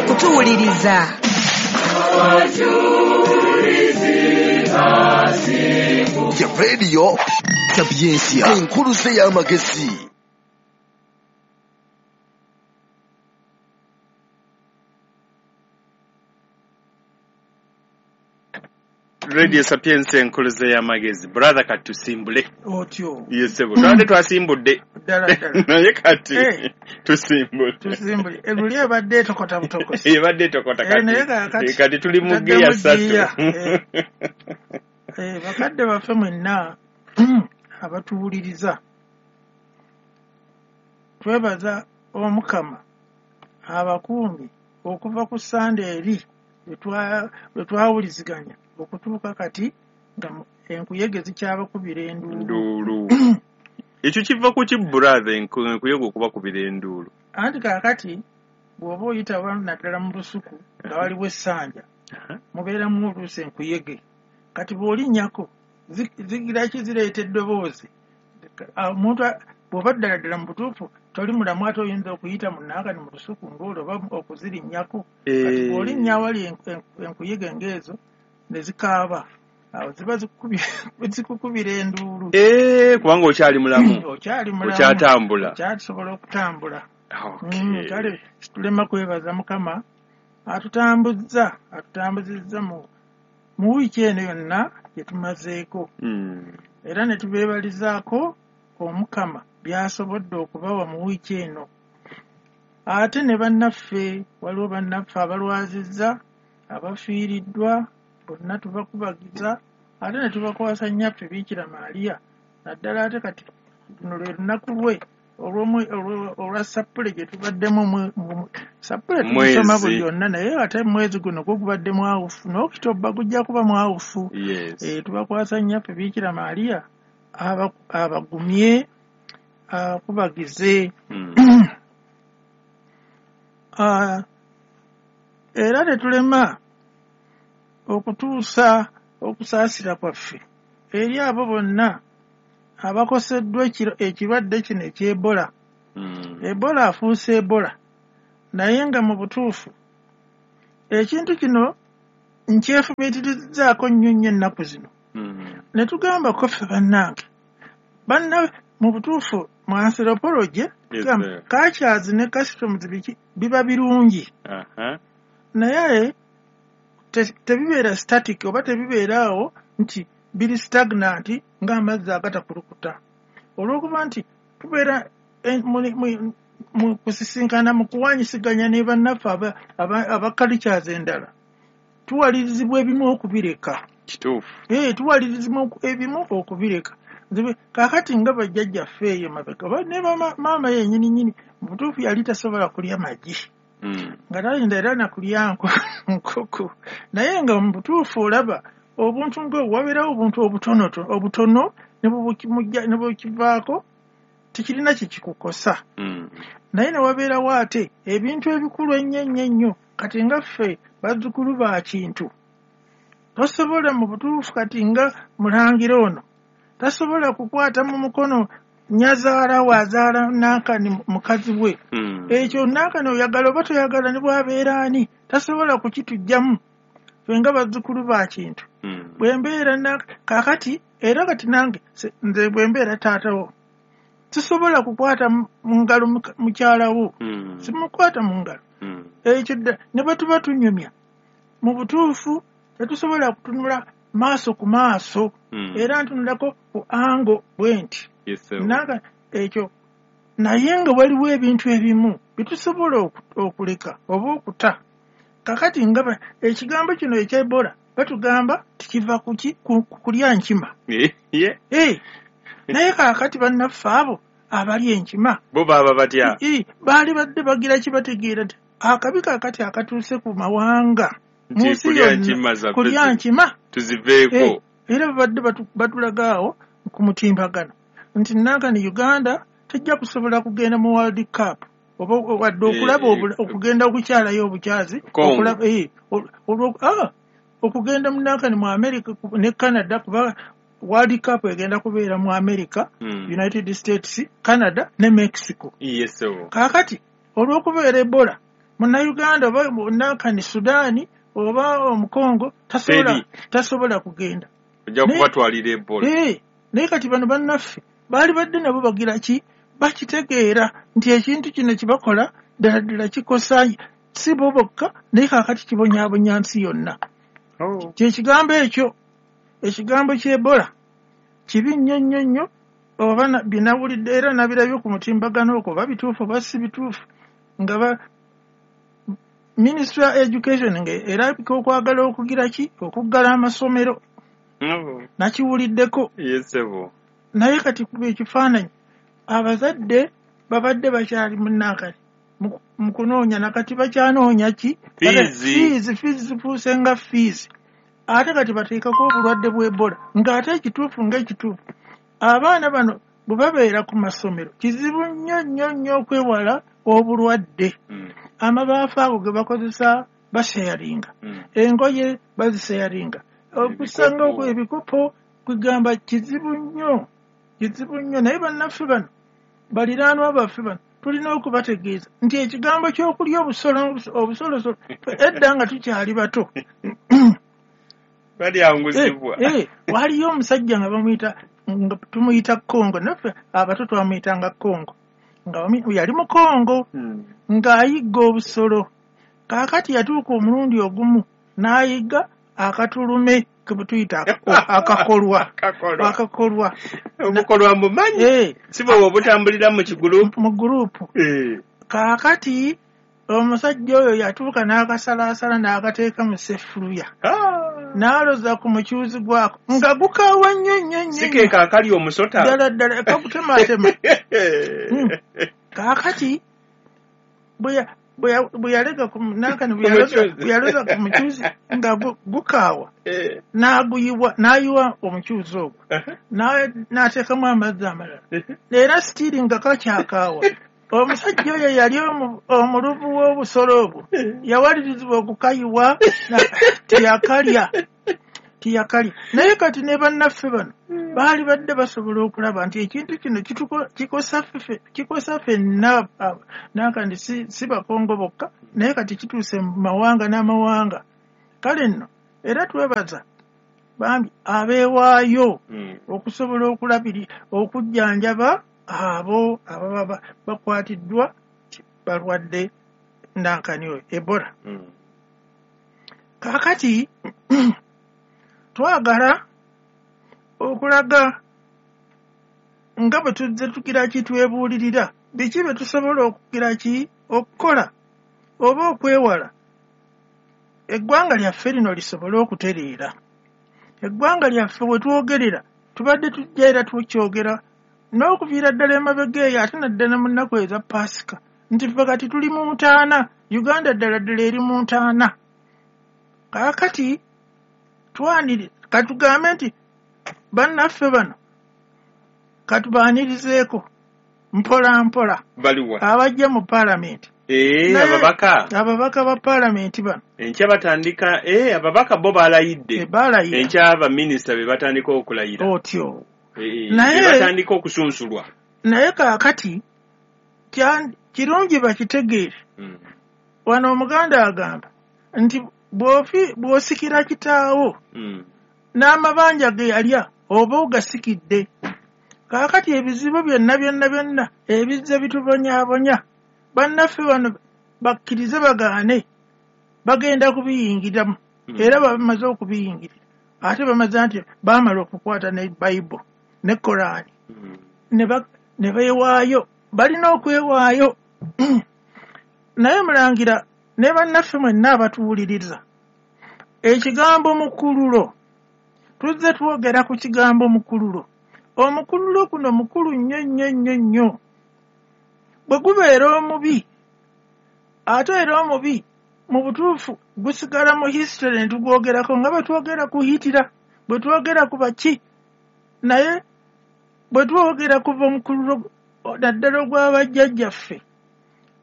Mwebale kutuwuliriza. Ya Radio Sapientia, enkuluze y'amagezi. Radio Sapientia enkuluze y'amagezi. Brother, katusimbule. Otyo. Yes, sebo. Twabadde twasimbudde. Ddala ddala. Naye kati Eh. tusimbule. Tusimbule. Eruli ebadde etokota butokosi. Ebadde etokota Eh, naye kati. kaakati Kati tuli mu tutaddemu gear 3. ggiya. Eh, bakadde baffe mwenna abatuwuliriza, twebaza Omukama abakuumi okuva ku Ssande eri lwe twawuliziganya okutuuka kati nga enkuyege zikyabakubira enduulu. Nduulu. Ekyo kiva ku ki, brother, enkuyege okubakubira enduulu? Anti kaakati bw'oba oyita naddala mu lusuku nga waliwo essanja, mubeeramu oluusi enkuyege. Kati bw'olinnyako zigira ki, zireeta eddoboozi. Omuntu bw'oba ddala ddala mu butuufu toli mulamu, ate oyinza okuyita mu nankani mu lusuku ng'olwo oba okuzirinnyako. Kati bw'olinnya awali enkuyege ng'ezo ne zikaaba, awo ziba zikukubira enduulu. Kubanga okyali mulamu. Okyali mulamu. Okyatambula. Okyasobola okutambula. Okay. Kale situlema kwebaza Mukama atutambuzizza mu wiiki eno yonna gye tumazeeko. Era ne tubeebalizaako Omukama by'asobodde okubawa mu wiiki eno. Ate ne bannaffe, waliwo bannaffe abalwazizza, abafiiriddwa, bonna tubakubagiza, ate ne tubakwasa nnyaffe Biikira Maria, naddala ate kati luno lwe lunaku lwe olwa sappule gye tubaddemu. Sappule tugisoma buli yonna, naye ate mwezi guno gwo gubadde mwawufu, n'Okitobba gujja kuba mwawufu. Yes. Tubakwasa nnyaffe Biikira Maria abagumye, akubagize. Era tetulema okutuusa okusaasira kwaffe eri abo bonna abakoseddwa ekirwadde kino eky'Ebola. Ebola afuuse Ebola, naye nga mu butuufu ekintu kino nkyefumiitirizaako nnyo nnyo ennaku zino. Ne tugamba ko ffe bannange, banna mu butuufu mu anthropology, tugamba cultures ne customs biki biba birungi. Naye tebibeera static oba tebibeera awo nti biri stagnant ng'amazzi agatakulukuta. Olw'okuba nti tubeera mu kusisinkana, mu kuwanyisiganya ne bannaffe aba cultures endala, tuwalirizibwa ebimu okubireka. Kituufu. Tuwalirizibwa ebimu okubireka. Kaakati nga bajjajjaffe eyo mabega, ne maama yennyini nnyini mu butuufu yali tasobola kulya magi. Nga tayinza era na kulya nkoko. Naye nga mu butuufu olaba obuntu ng'obwo, wabeerawo obuntu obutono ne bukivaako, tekirina kye kikukosa. Naye ne wabeerawo ate ebintu ebikulu ennyo ennyo ennyo. Kati nga ffe bazzukulu ba Kintu, tosobola mu butuufu kati nga mulangira ono tasobola kukwata mu mukono nnyazaala we azaala nankani mukazi we. Ekyo nankani oyagala oba toyagala ne bw'abeera ani tasobola kukituggyamu. Ffe nga bazzukulu ba Kintu. Bwe mbeera kaakati era kati nange nze bwe mbeera taata wo sisobola kukwata mu ngalo mukyala wo. Simukwata mu ngalo. Ekyo ne bwe tuba tunyumya mu butuufu tetusobola kutunula maaso ku maaso. Era ntunulako ku ango bwe nti. Nange ekyo, naye nga waliwo ebintu ebimu byetusobola okuleka oba okuta. Kakati nga ekigambo kino ekya Ebola batugamba tikiva kuki kulya nkima. Naye kaakati bannaffe abo abali enkima bo baba batya? Baali badde bagira kibategeera nti akabi kaakati akatuuse ku mawanga mu nsi yonna kulya nkima tuziveeko. Era babadde batulaga awo ku mutimbagano nti nankani Uganda tejja kusobola kugenda mu World Cup oba wadde okulaba okugenda okukyalayo obukyazi okugenda mu nankani mu America ne Canada, kuba World Cup egenda kubeera mu America, United States, Canada ne Mexico. Yes, kaakati olw'okubeera Ebola Munnayuganda oba nankani Sudaani oba Omukongo tasobola kugenda. Ojja kubatwalira Ebola. Naye kati bano bannaffe baali badde nabo bagira ki, bakitegeera nti ekintu kino kibakola ddala ddala kikosa si bo bokka, naye kaakati kibonyaabonya nsi yonna. Kyekigambo ekyo, ekigambo ky'Ebola kibi nnyo nnyo nnyo. Oba binawulidde era nabirabye ku mutimbagano okwo, oba bituufu oba si bituufu, nga Ministry of Education nga erabika okwagala okugira ki, okuggala amasomero. Nakiwuliddeko. Naye kati kuba ekifaananyi, abazadde babadde bakyali munnankani mu kunoonya, nakati bakyanoonya ki, fiizi zifuuse nga fiizi. Ate kati bateekako obulwadde bw'Ebola, ng'ate ekituufu ng'ekituufu abaana bano bwe babeera ku masomero kizibu nnyo nnyo nnyo okwewala obulwadde. Amabaafu ago ge bakozesa baseyaringa, engoye baziseyaringa, okusanga ebikopo, kugamba kizibu nnyo, kizibu nnyo. Naye bannaffe bano, baliraanwa baffe bano, tulina okubategeeza nti ekigambo ky'okulya obusolosolo edda nga tukyali bato balyanguzibwa. Waliyo omusajja nga bamuyita, nga tumuyita Kongo, naffe abato twamuyitanga Kongo, nga yali mu Kongo ng'ayigga obusolo. Kaakati yatuuka omulundi ogumu n'ayigga akatulume ke tuyita akakolwa. Akakolwa. Obukolwa mbumanyi. Si bwe obutambulira mu kigulupu. Mu gulupu. Kaakati omusajja oyo yatuuka n'akasalaasala n'akateeka mu sefuluya. N'aloza ku mukyuzi gwako nga gukaawa nnyo nnyo nnyo. Si ke kaakali omusota. Ddala ddala kakutematema. Kaakati bwe yalega ku nankani, bwe yaloza ku mukyuzi nga gukaawa, n'aguyiwa, n'ayiwa omukyuzi ogwo, n'ateekamu amazzi amalala, era sitiiri nga kakyakaawa. Omusajja oyo yali omuluvu w'obusolo obwo, yawalirizibwa okukayiwa, teyakalya. Naye kati ne bannaffe bano baali badde basobola okulaba nti ekintu kino kikosa ffenna, nankandi si Bakongo bokka, naye kati kituuse mu mawanga n'amawanga. Kale nno era twebaza bambi abeewaayo okusobola okulabiri okujjanjaba abo ababa bakwatiddwa balwadde nankani oyo Ebola. Kaakati twagala okulaga nga bwe tuzze tugira ki twebuulirira biki bye tusobola okugira ki okukola oba okwewala eggwanga lyaffe lino lisobole okutereera. Eggwanga lyaffe we twogerera tubadde tujja era tukyogera n'okuviira ddala emabega eyo, ate naddala mu nnaku eza Paasika, nti ffe kati tuli mu ntaana, Uganda ddala ddala eri mu ntaana. Kaakati katugambe nti bannaffe bano katubaanirizeeko mpola mpola. Baliwa abajja mu paalamenti. Ababaka ababaka ba paalamenti bano enkya batandika. Ababaka bo balayidde, enkya baminisita be batandika okulayira otyo, naye batandika okusunsulwa. Naye kaakati kirungi bakitegeere. Wano Omuganda agamba nti bw'osikira kitaawo n'amabanja ge yalya oba ogasikidde. Kaakati ebizibu byonna byonna byonna ebizze bitubonyaabonya, bannaffe bano bakkirize bagaane, bagenda kubiyingiramu, era bamaze okubiyingirira. Ate bamaze nti baamala okukwata ne Bayibuli ne Koraani ne beewaayo, balina okwewaayo. Naye mulangira ne bannaffe mwenna abatuwuliriza, ekigambo mukululo, tuzze twogera ku kigambo mukululo. Omukululo guno mukulu nnyo nnyo nnyo nnyo. Bwe gubeera omubi, ate era omubi mu butuufu gusigala mu history ne tugwogerako nga bwe twogera ku Hitler, bwe twogera ku baki, naye bwe twogera kuva omukululo naddala ogw'abajjajjaffe,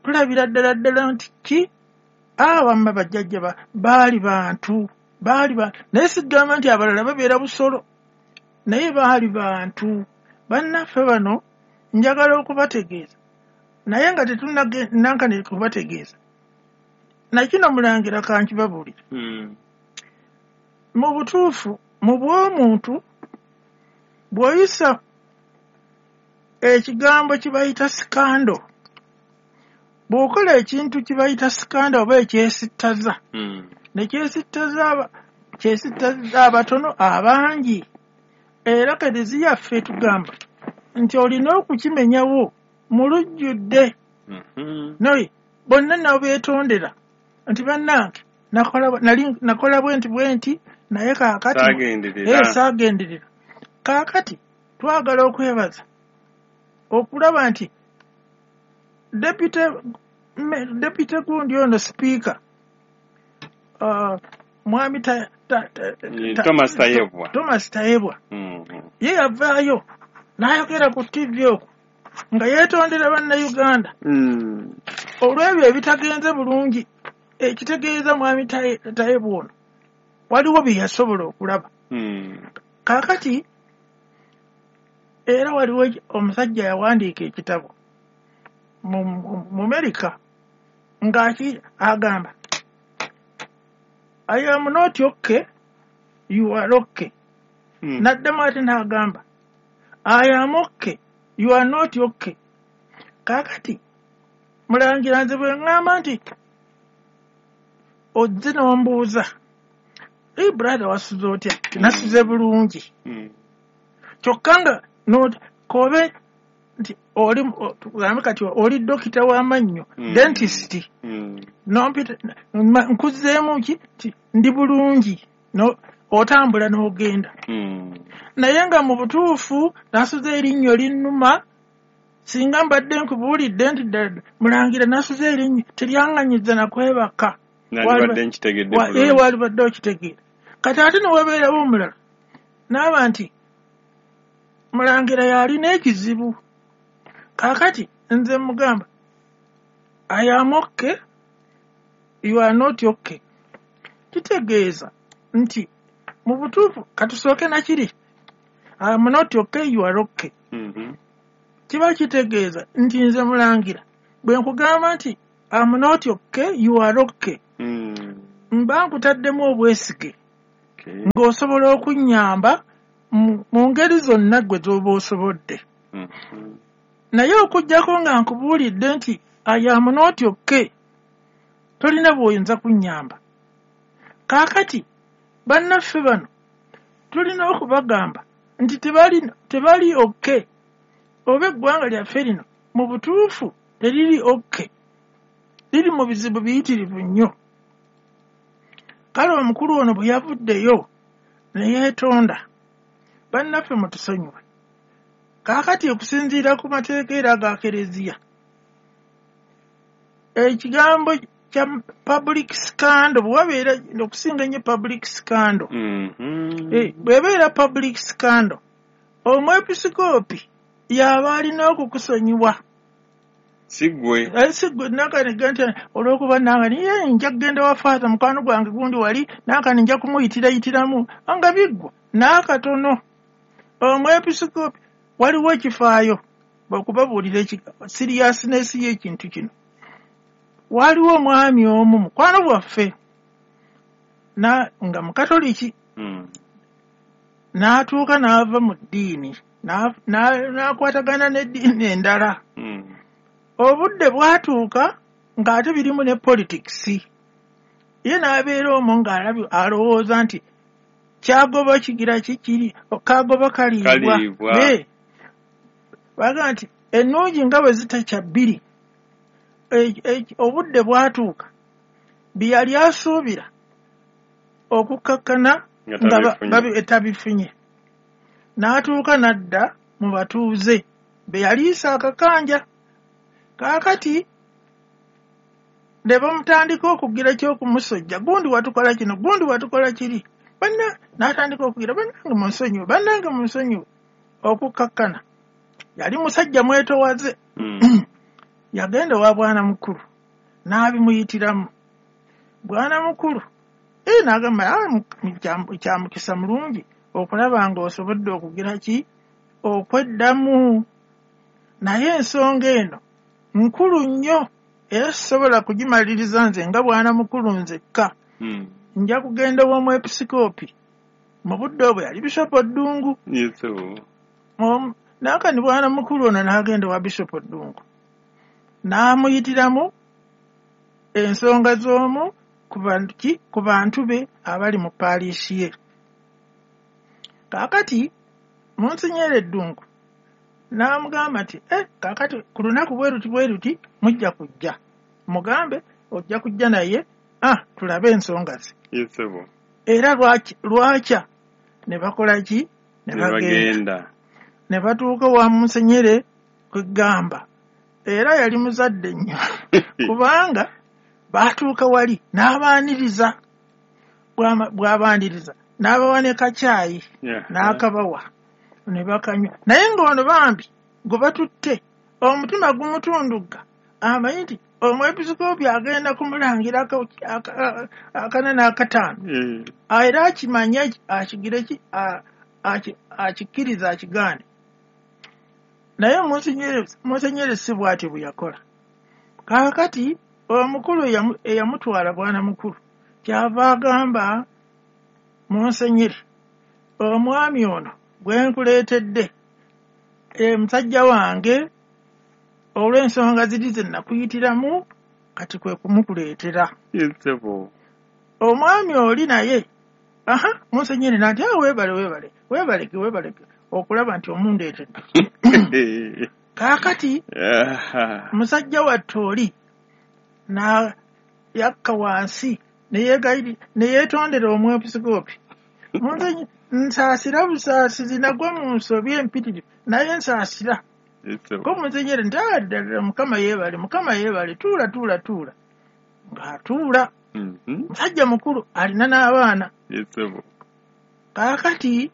tulabira ddala ddala nti ki awamma bajjajja baali bantu, baali naye sigamba nti abalala babeera busolo, naye baali bantu. Bannaffe bano njagala okubategeeza, naye nga tetunnankane kubategeeza, Nakino mulangira kankibabuulire. Mu butuufu mu bw'omuntu bw'oyisa ekigambo kibayita scandal, bw'okola ekintu kibayita scandal oba ekyesittaza, ne kyesittaza abatono abangi. Era Kereziya yaffe tugamba nti olina okukimenyawo mu lujjudde. Naye bonna nabo beetondera nti bannange nakola bwe nti naye kaakati saagenderera. Kaakati twagala okwebaza okulaba nti deputy gundi ono sipiika mwami Thomas Tayebwa ye yavaayo n'ayogera ku TV okwo nga yeetondera bannayuganda olw'ebyo ebitagenze bulungi. Ekitegeeza mwami Tayebwa ono waliwo bye yasobola okulaba. Kaakati era waliwo omusajja yawandiika ekitabo mu Amerika ng'aki agamba I am not okay, you are okay. N'addamu ate n'agamba I am okay, you are not okay. Kaakati mulangira nze bwe ŋŋamba nti ozze n'ombuuza, hey brother wasuze otya? Nasuze bulungi. Kyokka nga kobe nti oli tugambe kati oli dokita w'amannyo, dentist, nompita nkuzzeemu ki nti ndi bulungi, otambula n'ogenda. Naye nga mu butuufu nasuze erinnyo linnuma, singa mbadde nkubuulidde nti ddala mulangira nasuze erinnyo teryaŋŋanyiza nakwebaka. Walibadde okitegeera. Kati ate ne wabeerawo omulala n'aba nti mulangira yalina ekizibu. Kaakati nze mugamba I am okay, you are not okay. Kitegeeza nti mu butuufu katusooke nakiri I am not okay, you are okay. Kiba kitegeeza nti nze mulangira bwe nkugamba nti I am not okay, you are okay, mba nkutaddemu obwesige ng'osobola okunnyamba mu ngeri zonna gwe z'oba osobodde. Naye okuggyako nga nkubuulidde nti I am not okay, tolina bw'oyinza kunnyamba. Kaakati bannaffe bano tulina okubagamba nti tebali okay, oba eggwanga lyaffe lino mu butuufu teriri okay, liri mu bizibu biyitirivu nnyo. Kale omukulu ono bwe yavuddeyo ne yeetonda, bannaffe mutusonyiwe. Kaakati okusinziira ku mateeka era aga Kereziya, ekigambo kya public scandal bwe wabeera okusinga ennyo public scandal, bw'ebeera public scandal, omwepisikoopi y'aba alina okukusonyiwa. Si ggwe. Si ggwe nakanega nti olw'okuba nankani ye nja kugenda wa Faaza mukwano gwange gundi wali nankani nja kumuyitira-yitiramu nga biggwa n'akatono. Omwepisikoopi waliwo ekifaayo okubabuulira seriousness y'ekintu kino. Waliwo omwami omu mukwano gwaffe nga mukatoliki, n'atuuka n'ava mu ddiini n'akwatagana n'eddiini endala. Obudde bwatuuka ng'ate birimu ne politics. Ye n'abeera omwo ng'alowooza nti kyagoba kigira kikiri kagoba kaliibwa. Bagamba nti ennungi nga bwe zitakya bbiri. Obudde bwatuuka bye yali asuubira okukkakkana nga tabifunye, n'atuuka n'adda mu batuuze be yaliisa akakanja. Kaakati ne bamutandika okugira ky'okumusojja, gundi watukola kino, gundi watukola kiri, n'atandika okugira bannange munsonyiwe, bannange munsonyiwe, okukkakkana. Yali musajja mwetowaze. Yagenda owa bwana mukulu n'abimuyitiramu. Bwana mukulu n'agamba kya mukisa mulungi okulaba ng'osobodde okugira ki okweddamu, naye ensonga eno nkulu nnyo. era sisobola kugimaliriza nze nga bwana mukulu nzekka. Nja kugenda ow'omwepisikoopi. Mu budde obwo yali Bishopu Ddungu. Naakani bwana mukulu ono n'agenda owa Bishopu Ddungu, n'amuyitiramu ensonga z'omu ku bantu be abali mu paaliisi ye. Kaakati Munsenyere Ddungu n'amugamba nti kaakati ku lunaku bwe luti bwe luti mujja kujja, mugambe ojja kujja naye tulabe ensonga ze. Era lwakya ne bakola ki? Ne bagenda. Ne batuuka wa Munsenyere kwegamba. Era yali muzadde nnyo kubanga baatuuka wali n'abaaniriza, bw'abaaniriza n'abawa ne kacaayi n'akabawa ne bakanywa. Naye ng'ono bambi gwe batutte omutima gumutundugga, amanyi nti omwepisikoopi agenda kumulangirako akana n'akataano, era akimanye akigire ki akikkiriza akigaane. Naye Munsenyere si bw'atyo bwe yakola. Kaakati omukulu eyamutwala bwana mukulu kyava agamba Munsenyere, omwami ono gwe nkuleetedde musajja wange olw'ensonga ziri ze nakuyitiramu kati kwe kumukuleetera. Omwami oli naye Munsenyere nati weebale weebale weebaleke weebaleke okulaba nti omundeetedde. Kaakati musajja wattu oli na yakka wansi ne yeetondera omwepisikoopi. Nsaasira busaasizi nagwa mu nsobi empitirivu naye nsaasira. Ko Munsenyere nti ddala Mukama yeebale, Mukama yeebale, tuula tuula tuula. Ng'atuula. Musajja mukulu alina n'abaana. Kaakati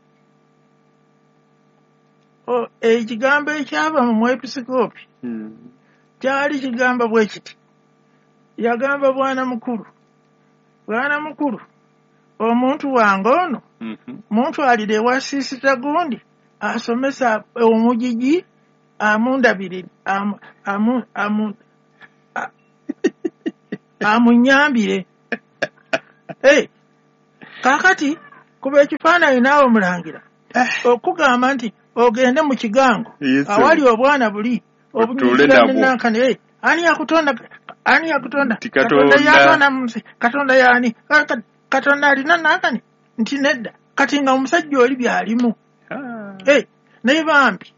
ekigambo ekyava mu mwepisikoopi kyali kigamba bwe kiti. Yagamba bwana mukulu, bwana mukulu, omuntu wange ono muntwalire ewa siisita gundi asomesa omugigi amundabire amunyambire. Kaakati kuba ekifaananyi naawe mulangira okugamba nti ogende mu kigango awali obwana buli obunyumiranankani. Ani yakutonda? Ani yakutonda? Katonda yatonda munsi. Katonda yaani? Katonda alina nankani nti nedda. Kati nga omusajja oli byalimu. Naye bambi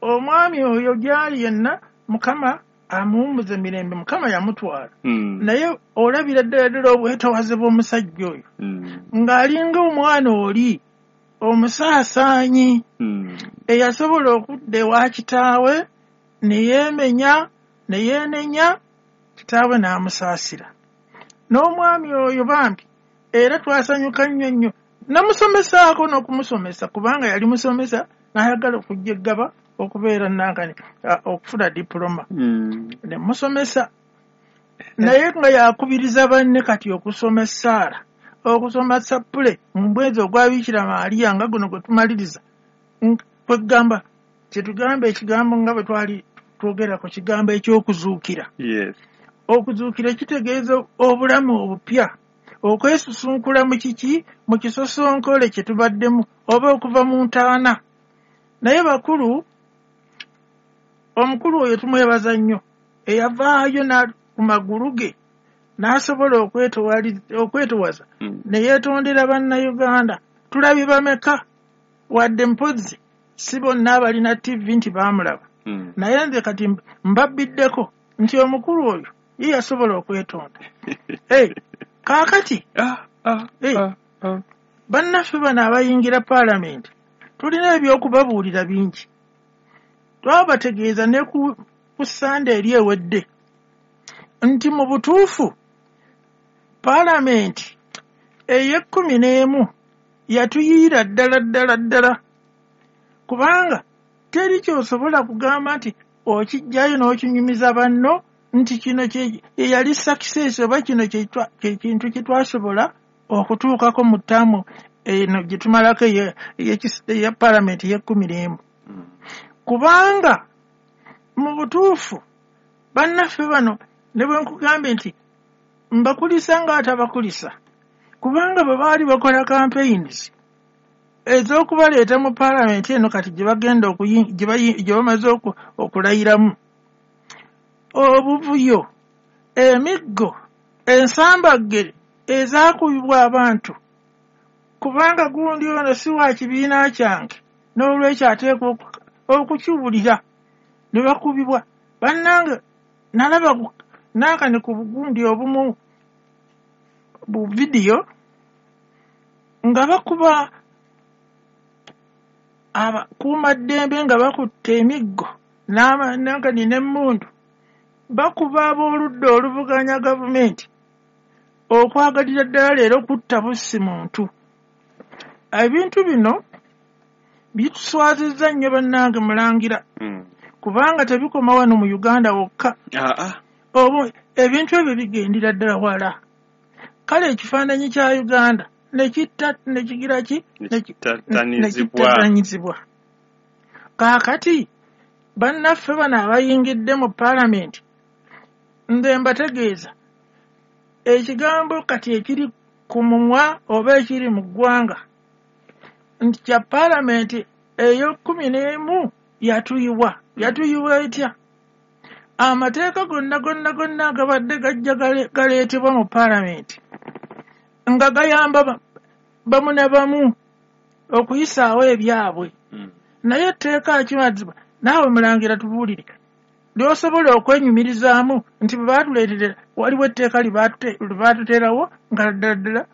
omwami oyo gyali yenna Mukama amuwummuze mirembe, Mukama yamutwala. Naye olabira ddala ddala obwetowaze bw'omusajja oyo ng'alinga omwana oli omusaasaanyi eyasobola okudda ewa kitaawe ne yeemenya ne yeenenya, kitaawe n'amusaasira. N'omwami oyo bambi era twasanyuka nnyo nnyo, namusomesaako n'okumusomesa kubanga yali musomesa n'ayagala okujja eggaba okubeera nankani okufuna diploma. Ne musomesa naye nga yakubiriza banne kati okusoma essaala, okusoma sappule mu mwezi ogwa Bikira Maria nga guno gwe tumaliriza. Kwegamba kyetugamba ekigambo nga bwe twali twogera ku kigambo eky'okuzuukira. Okuzuukira kitegeeza obulamu obupya, okwesusunkula mu kiki, mu kisosonkole kye tubaddemu oba okuva mu ntaana. Naye bakulu, omukulu oyo tumwebaza nnyo eyavaayo ku magulu ge n'asobola okwetowaza ne yeetondera Bannayuganda. Tulabye bameka wadde mpozzi si bonna abalina TV nti baamulaba. Naye nze kati mbabbiddeko nti omukulu oyo ye yasobola okwetonda. Kaakati bannaffe bano abayingira paalamenti tulina ebyokubabuulira bingi. Twabategeeza ne ku Sande eri ewedde nti mu butuufu paalamenti ey'ekkumi n'emu yatuyiira ddala ddala ddala, kubanga teri ky'osobola kugamba nti okijjayo n'okinyumiza banno nti kino yali success oba kino kye kintu kye twasobola okutuukako mu ttaamu eno gye tumalako eya paalamenti ey'ekkumi n'emu. Kubanga mu butuufu Bannaffe bano ne bwe nkugambye nti mbakulisa ng'atabakulisa, kubanga bwe baali bakola campaigns ez'okubaleeta mu paalamenti eno kati gye bagenda gye bamaze okulayiramu, obuvuyo, emiggo, ensambaggere ezaakubibwa abantu, kubanga gundi ono si wa kibiina kyange, n'olwekyo ateekwa okukiwulira, ne bakubibwa. Bannange nalaba naakane ku bugundi obumu bu vidiyo nga bakuba abakuumaddembe nga bakutte emiggo nankani n'emmundu, bakuba ab'oludda oluvuganya gavumenti okwagalira ddala leero kutta bussi muntu. Ebintu bino bituswazizza nnyo bannange mulangira, kubanga tebikoma wano mu Uganda wokka. Ebintu ebyo bigendera ddala wala. Kale ekifaananyi kya Uganda nekigira ki? Nekittatanyizibwa. Kaakati bannaffe bano abayingidde mu paalamenti, nze mbategeeza ekigambo kati ekiri ku mumwa oba ekiri mu ggwanga nti kya paalamenti ey'e11 yatuyiwa. Yatuyiwa etya? Amateeka gonna gonna gonna agabadde gajja galeetebwa mu paalamenti nga gayamba bamu na bamu okuyisaawo ebyabwe. Naye etteeka kimazibwa naawe mulangira tubuulire ly'osobola okwenyumirizaamu nti bwe baatuleetera waliwo etteeka lye baatuteerawo nga ddala ddala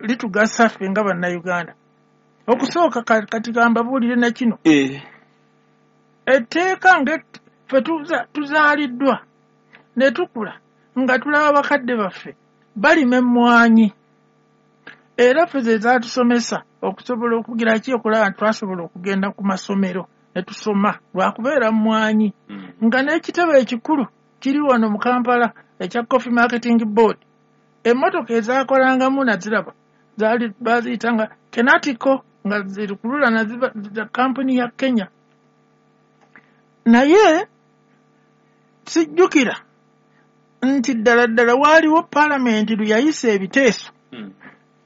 litugasa ffe nga Bannayuganda. Okusooka kati gambabuulire na kino, etteeka nga ffe tuzaaliddwa ne tukula nga tulaba bakadde baffe balima emmwanyi, era ffe ze zaatusomesa okusobola okugira ki, okulaba nti twasobola okugenda ku masomero ne tusoma lwakubeera mmwanyi, nga n'ekitebe ekikulu kiri wano mu Kampala ekya Coffee Marketing Board. Emmotoka ezaakolangamu naziraba zaali baziyitanga Kenatiko, nga zirikulula za kampuni ya Kenya. Naye sijjukira nti ddala ddala waaliwo paalamenti lwe yayisa ebiteeso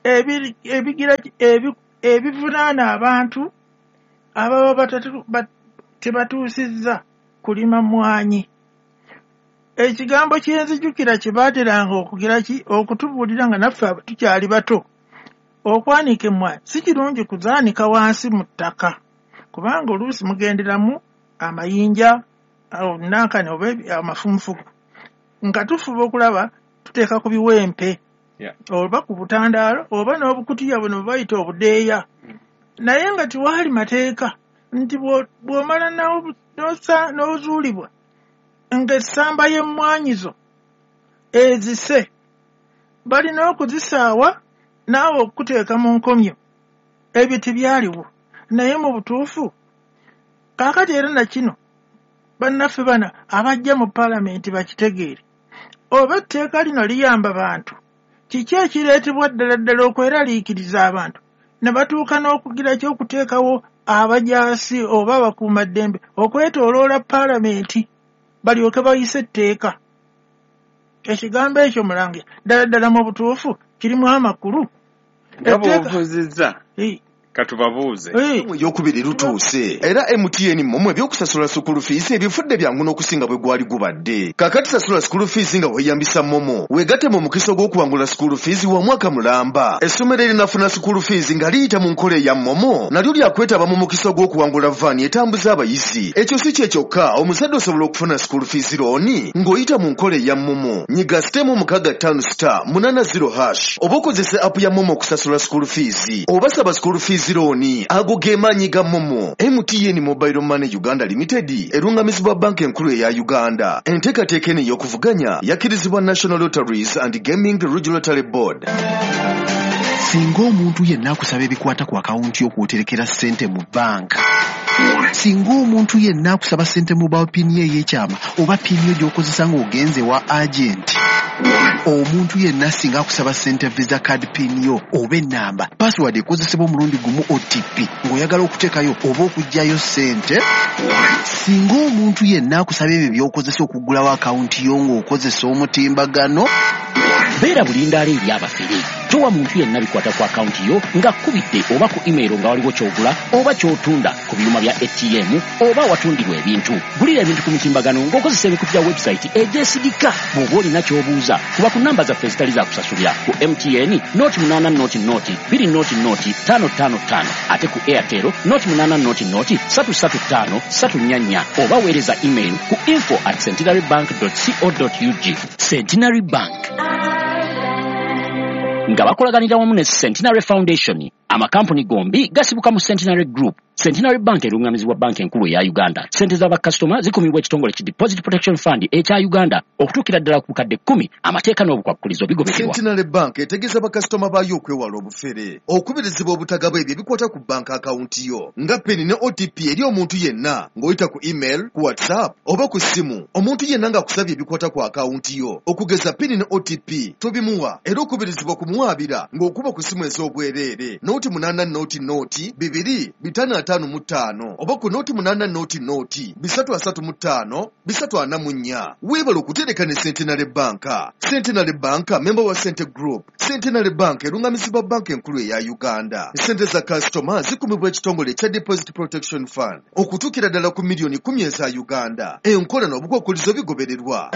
ebigira ebivunaana abantu ababa tebatuusizza kulima mmwanyi. Ekigambo kyenzijukira kye baateranga okugira ki, okutubuulira nga naffe tukyali bato, okwanika emmwanyi si kirungi kuzaanika wansi mu ttaka, kubanga oluusi mugenderamu amayinja nankani oba amafunfugu, nga tufuba okulaba tuteeka ku biwempe oba ku butandaalo oba n'obukutiya buno bwe bayita obudeeya. Naye nga tewaali mateeka nti bw'omala n'ozuulibwa ng'essamba y'emmwanyi zo ezise balina okuzisaawa naawe okuteeka mu nkomyo. Ebyo tebyaliwo. Naye mu butuufu kaakati era na kino bannaffe bano abajja mu paalamenti bakitegeere, oba etteeka lino liyamba bantu, kiki ekireetebwa ddala ddala okweraliikiriza abantu ne batuuka n'okugira ki, okuteekawo abajaasi oba abakuumaddembe okwetooloola paalamenti balyoke bayise etteeka. Ekigambo ekyo mulangira ddala ddala mu butuufu kirimu amakulu. Nga bw'obuuzizza katubabuuze. Eyokubiri lutuuse era MTN MoMo ebyokusasula school fees ebifudde byangu n'okusinga bwe gwali gubadde. Kakati sasula school fees nga weeyambisa MoMo, weegatte mu mukisa ogw'okuwangula school fees wa mwaka mulamba. Essomero erinafuna school fees nga liyita mu nkola eya MoMo nalyo lyakwetaba mu mukisa ogw'okuwangula vaani etambuza abayizi. Ekyo si kye kyokka, omuzadde osobola okufuna school fees loan ng'oyita mu nkola eya MoMo. Nyiga *658*80# oba okozese app ya MoMo okusasula school fees oba saba school fees loan. Ago ge maanyi ga MoMo. MTN Mobile Money Uganda Limited erungamizibwa banka enkulu eya Uganda. Enteekateeka eno ey'okuvuganya yakkirizibwa National Lotteries and Gaming Regulatory Board. Singa omuntu yenna akusaba ebikwata ku akawunti y'okwoterekera ssente mu bbanka, singa omuntu yenna akusaba ssente mobile PIN ye ey'ekyama oba PIN yo gy'okozesa ng'ogenze wa agenti, Omuntu yenna singa akusaba ssente Visa card PIN yo oba ennamba, password ekozesebwa omulundi gumu OTP ng'oyagala okuteekayo oba okuggyayo ssente. Singa omuntu yenna akusaba ebyo by'okozesa okuggulawo akawunti yo ng'okozesa omutimbagano. Beera bulindaala eri abafere. Towa muntu yenna bikwata ku akawunti yo ng'akkubidde oba ku email nga waliwo ky'ogula oba ky'otunda ku byuma bya ATM oba awatundirwa ebintu. Gulira ebintu ku mitimbagano ng'okozesa emikutu gya website egyesigika. Bw'oba olina ky'obuuza, kuba ku namba zaffe ezitali za kusasulira ku MTN 080 0 20 0 555, ate ku Airtel 080 0 335 344, oba weereza email ku info@centenarybank.co.ug. Centenary Bank nga bakolaganira wamu ne Centenary Foundation. Amakampuni gombi gasibuka mu Centenary Group. Centenary Bank erungamizibwa Banka Enkulu eya Uganda. Ssente z'abakasitoma zikumibwa ekitongole ki Deposit Protection Fund ekya Uganda okutuukira ddala ku bukadde 10. Amateeka n'obukwakkulizo bigobererwa. Centenary Bank etegeeza bakasitoma baayo okwewala obufere, okubirizibwa obutagaba ebyo ebikwata ku banka akawunti yo nga PIN ne OTP eri omuntu yenna ng'oyita ku email, ku WhatsApp oba ku ssimu. Omuntu yenna ng'akusabye ebikwata ku akawunti yo okugeza PIN ne OTP tobimuwa, era okubirizibwa kumuwaabira ng'okuba ku ssimu ez'obwereere 0 8 0 0 2 5 55 oba ku 0 8 0 0 3 35 344. Weebale okutereka ne Centenary Bank. Centenary Bank member wa Cente Group. Centenary Bank erungamizibwa Banka Enkulu eya Uganda. Ssente za kasitoma zikumibwa ekitongole ekya Deposit Protection Fund okutuukira ddala ku miliyoni 10 eza Uganda. Enkola n'obukwakkulizo bigobererwa.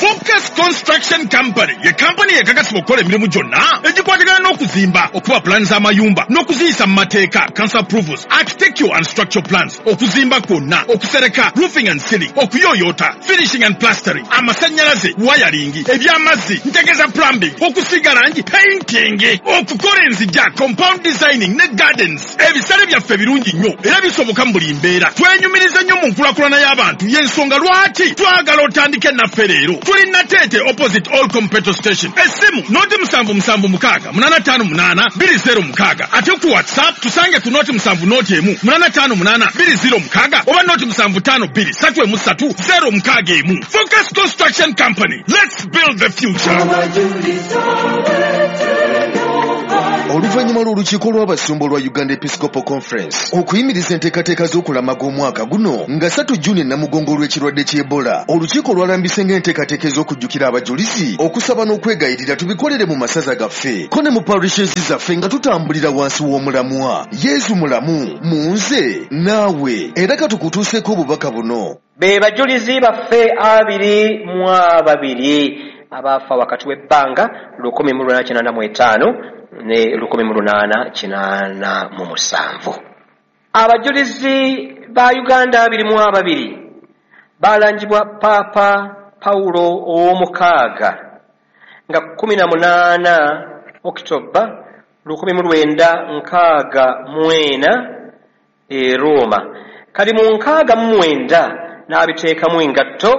Focus Construction Company ye kampani ekakasibwa okukola emirimu gyonna egikwatagana n'okuzimba, okuba pulaani z'amayumba n'okuziyisa mu mateeka, council approvals, architectural and structural plans, okuzimba kwonna, okusereka, roofing and ceiling, okuyooyoota, finishing and plastering, amasannyalaze, wiring, eby'amazzi, ntegeeza plumbing, okusiiga langi, painting, okukola enzija, compound designing ne gardens. Ebisale byaffe birungi nnyo era bisoboka mu buli mbeera. Twenyumiriza nnyo mu nkulaakulana y'abantu, y'ensonga lwaki twagala otandike naffe leero. Tuli Nateete opposite Olcom petrol station. Essimu 077 6 858 206, ate ku WhatsApp tusange ku 070 1 858 206 oba 075 2 3 3 061. Focus Construction Company, let's build the future. Oluvannyuma lw'olukiiko lw'abasumba olwa Uganda Episcopal Conference okuyimiriza enteekateeka z'okulamaga omwaka guno nga 3 Juni e Namugongo olw'ekirwadde ky'Ebola, olukiiko lwalambise ng'enteekateeka ez'okujjukira abajulizi, okusaba n'okwegayirira tubikolere mu masaza gaffe ko ne mu parishes zaffe nga tutambulira wansi w'omulamwa Yezu mulamu mu nze naawe. Era katukutuuseeko obubaka buno. Be bajulizi baffe 22 abaafa wakati w'ebbanga 1885 ne 1887. Abajulizi ba Uganda 22 balangibwa Paapa Pawulo ow'omukaaga nga 18 Okitoba 1964 e Roma. Kali mu 69 n'abiteekamu engatto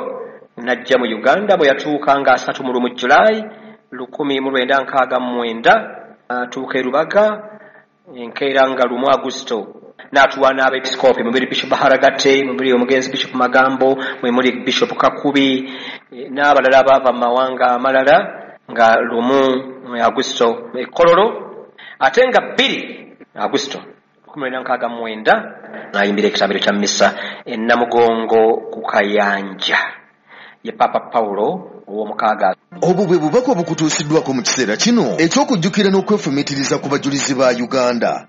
n'ajja mu Uganda bwe yatuuka nga 31 Julayi 1969, atuuka e Rubaga enkeera nga 1 Agusto, n'atuwa n'abepisikoopi mubiri Bishop Baharagate, mubiri omugenzi Bishop Magambo, mwe muli Bishop Kakubi n'abalala abaava mu mawanga amalala nga 1 Agusto e Kololo, ate nga 2 Agusto 1969 n'ayimbira ekitambiro kya missa e Namugongo ku Kayanja. Ye Papa Pawulo ow'omukaaga. Obwo bwe bubaka obukutuusiddwako mu kiseera kino eky'okujjukira n'okwefumiitiriza ku bajulizi ba Uganda.